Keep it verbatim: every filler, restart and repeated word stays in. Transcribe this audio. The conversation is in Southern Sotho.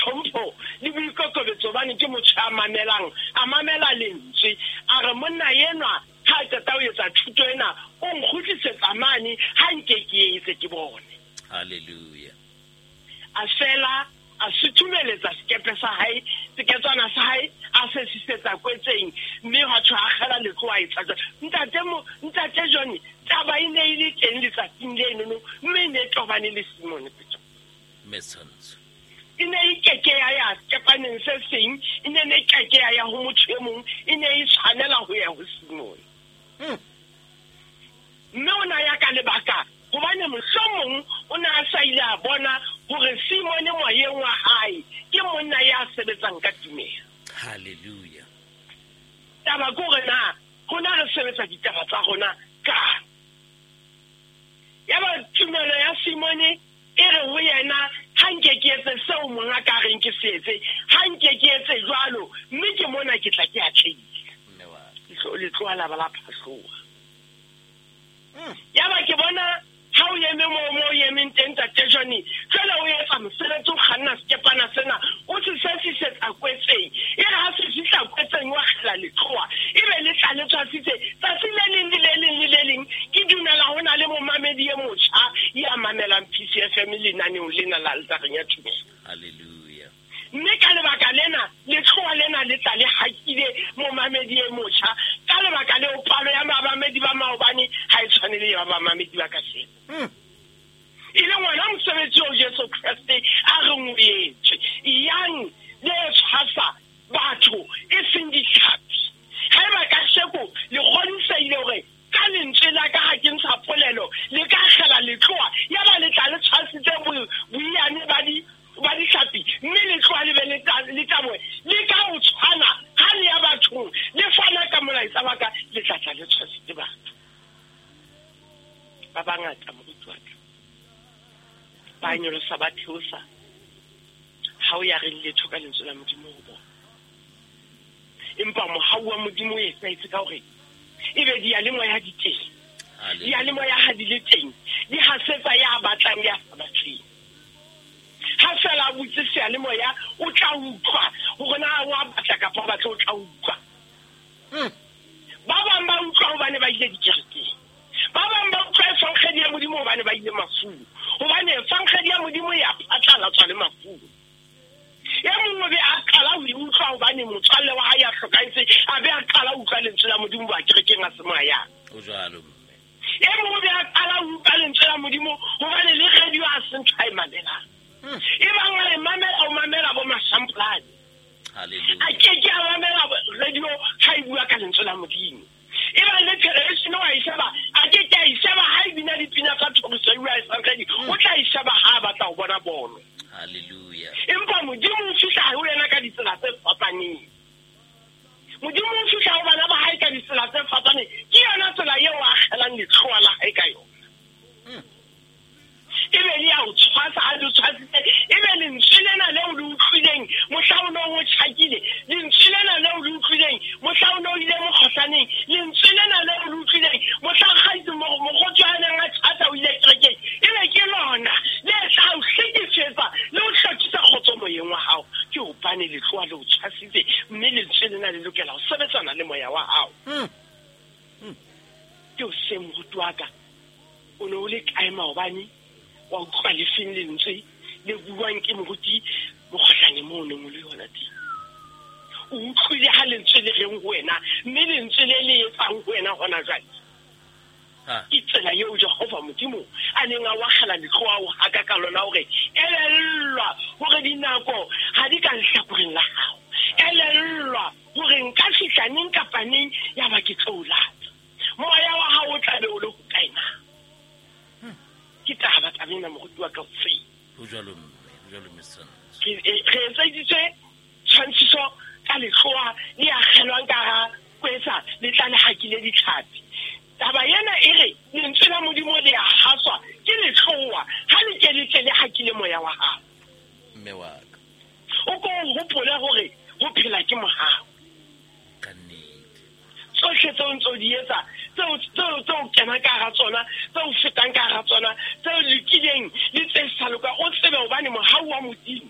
tlhompho le boikokobetso hobane ke motho a mamelang, a mamela lentswe. A re monna enwa ha a qeta ho etsa thuto ena, o nkgutlisetsa mane ha nke ke etse ke bone. Hallelujah. A fela a suthumeletsa sekepe sa hae, seketswana sa hae, a se sisetsa kwetseng, mme hwa thwe a kgela letloa etsa jwalo. Ntate mo, ntate John, taba e ne e le teng letsatsing lenono, mme e ne e tobane le Simone Petro. Metsantso. E ne e keke ya ya sekepaneng se seng, e ne e keke ya ya ho motho e mong, e ne e tshwanela ho ya ho Simone. Hmm. Mme o na ya ka lebaka, hobane mohlomong o ne a sa ile a bona hore Simone moyeng wa hae ke monna ya sebetsang ka tumelo. Hallelujah. Taba ke hore na rona re sebetsa ditaba tsa rona ka. Yaba tumelo ya Simone e re ho yena, ha nke ke etse seo monga ka reng ke se etse, ha nke ke etse jwalo, mme ke mona ke tla ke atlehile. Mme wa ka. Letlo, letloa la ba la phahloha. Mm. Yaba ke bona ha o eme moo, moo o emeng teng, Ntate Johnny, jwale o etsa mosebetsi, o kganna sekepana sena, o se sesisetsa kwetseng. E re ha se fihla kwetseng, wa kgela letloa, ebe le tla le tshwasitse. Tsatsi le leng le le leng le le leng, ke dumela ho na le momamedi e motjha ya mamelang P C F M lenaneong lena la Altareng ya Tumelo. Hallelujah. Mme ka lebaka lena, letloa lena le tla le hakile momamedi e motjha. Ka lebaka leo, palo ya bamamedi ba maobane ha e tshwane le ya bamamedi ba kajeno. Hmm. E leng wona mosebetsi oo Jesu Kreste a reng o etse. Yang le tshwasa batho e seng ditlhapi. Haeba kasheko le kgodisehile hore ka lentswe la ka ha ke ntsha polelo, le ka kgela letloa, yaba le tla le tshwasitse bo-, boiyane ba di-, ba ditlhapi, mme letloa le be le tla-, le tlaboe, le ka ho tshwana ha le ya bathong, le fana ka molaetsa wa ka, le tla tla le tshwasitse batho. Ba bangata, moruti wa ka, ba nyolosa ba theosa, ha o ya reng letho ka lentswe la Modimo ho bona. Empa mohau wa Modimo o etsahetse ka hore ebe diyalemoya di teng. Hallelujah. Diyalemoya ha di le teng, di hasetsa ya batlang ya sa batleng. Ha fela a butse seyalemoya, o tla utlwa hore na wa batla kapa o batla, o tla utlwa. Hmm. Ba bang ba utlwa hobane ba ile dikerekeng. Ba bang ba utlwa efankgedi ya Modimo hobane ba ile mafung. Hobane efankgedi ya Modimo e a phatlalatswa le mafung. E mong o be a qala ho e utlwa hobane motswalle wa hae a hlokahetse, a be a qala ho utlwa lentswe la Modimo ba kerekeng a se mo a yang. O jwalo, mme. E mong o be a qala ho utlwa lentswe la Modimo hobane le radio a se ntho a e mamelang. Hmm. E bang a e mamela, o mamela bo Mashampolane. Hallelujah. A ke ke a mamela radio ha e bua ka lentswe la Modimo. E bang le television wa e sheba, a ke ke a e sheba ha e bina dipina tsa thoriso e bua e sankgedi, Hmm. o tla e sheba ha a batla ho bona bolo. Hallelujah. Empa Modimo o fihla ho yena ka ditsela tse fapaneng. Modimo o fihla ho bana ba hae ka ditsela tse fapaneng. Ke yona tsela eo a akgelang letloa la hae ka yona. Hmm. Ebe le ya o tshwasa, ha le o tshwasitse, ebe lentswe lena leo le utlwileng mohla o no o tjhakile, lentswe lena leo le utlwileng mohla o no ile mokgohlaneng, lentswe lena leo le utlwileng mohla kgaitse mo-, mokgotsi a neng a tjhata o ile kerekeng, ebe ke lona le tla o hlekefetsa le o hlokisa kgotso moyeng wa hao. Ke hobane letloa le o tshwasitse, mme lentswe lena le lokela ho sebetsana le moya wa hao. Hmm. Hmm. Ke o se moruti wa ka, o ne o le kae maobane? Wa utlwa le feng lentswe le buang ke moruti mokgohlane moo o neng o le yona teng? O utlwile ha lentswe le reng ho wena, mme lentswe le le etsang ho wena hona jwale? Ha. Ke tsela eo Jehova Modimo a neng a wakgela letloa ho haka ka lona hore elellwa hore dinako ha di ka lehlakoreng la hao. Elellwa hore nka fihla neng kapa neng ya ba ke tlo o lata. Moya wa hao o tla be o le hokae na? Ke taba taba ena, moruti wa ka, hoseng. Ho jwalo, mme, ho jwalo, mme Santho. Re, e, re etseditswe tshwantshiso ka letloa le akgelwang ka hara kwetsa, le tla le hakile ditlhapi. Taba ena e re lentswe la Modimo le a haswa ke letloa, ha le ke le tle le hakile moya wa hao. Mme wa ka. O ko o hopole hore ho phela ke mohau. Ka nnete. Tsohle tseo ntso di etsa, tseo, tseo, tseo kena ka hara tsona, tseo fetang ka hara tsona, tseo lokileng le tse sa lokang, o tsebe hobane mohau wa Modimo